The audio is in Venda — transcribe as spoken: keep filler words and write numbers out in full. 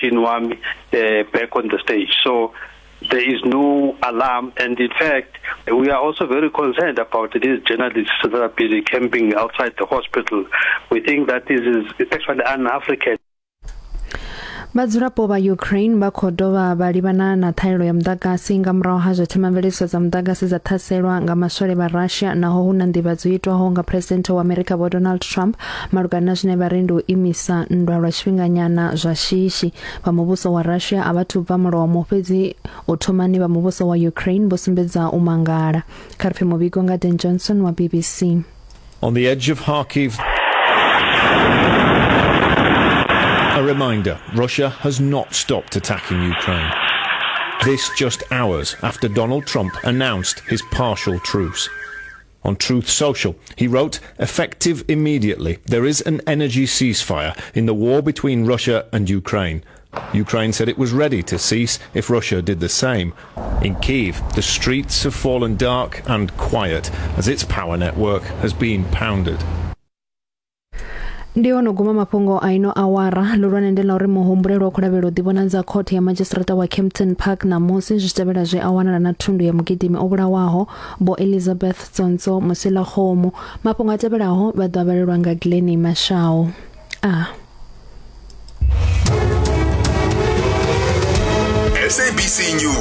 Wami uh, back on the stage. So there is no alarm, and in fact we are also very concerned about these journalists that are busy camping outside the hospital. We think that this is actually un-African. Vhadzulapo vha Ukraine vha khou dovha vha livhana na ṱhahelelo ya muḓagasi nga murahu ha zwe themamveledziso dza muḓagasi dza ṱhaselwa nga maswole vha Russia, naho hu na nḓivhadzo itwaho nga President wa America Vho Donald Trump malugana na zwine vha ri ndi u imisa nndwa lwa tshifhinganyana zwa shishi. Vha muvhuso wa Russia a vha thu bva mulomo, fhedzi u thomani vha muvhuso wa Ukraine vho sumbedza u mangala. Kha ri pfe muvhigo nga Dan Johnson wa B B C. On the edge of Kharkiv, a reminder, Russia has not stopped attacking Ukraine. This just hours after Donald Trump announced his partial truce. On Truth Social, he wrote, effective immediately, there is an energy ceasefire in the war between Russia and Ukraine. Ukraine said it was ready to cease if Russia did the same. In Kyiv, the streets have fallen dark and quiet as its power network has been pounded. Ndi ono guma mafhungo a ino awara. Lulwane ndi la uri muhumbulelwa khou lavhelwa u ḓivhonadza khothe ya madzhisiṱiraṱa wa Kempton Park ṋamusi zwi tshi tevhela zwe a wanala na thundu ya mugidimi o vhulawaho Vho Elizabeth Tsonzo Musilakgomo. Mafhungo a tevhelaho vha ḓo avhalelwa nga Glennie Mashao. A S A B C News.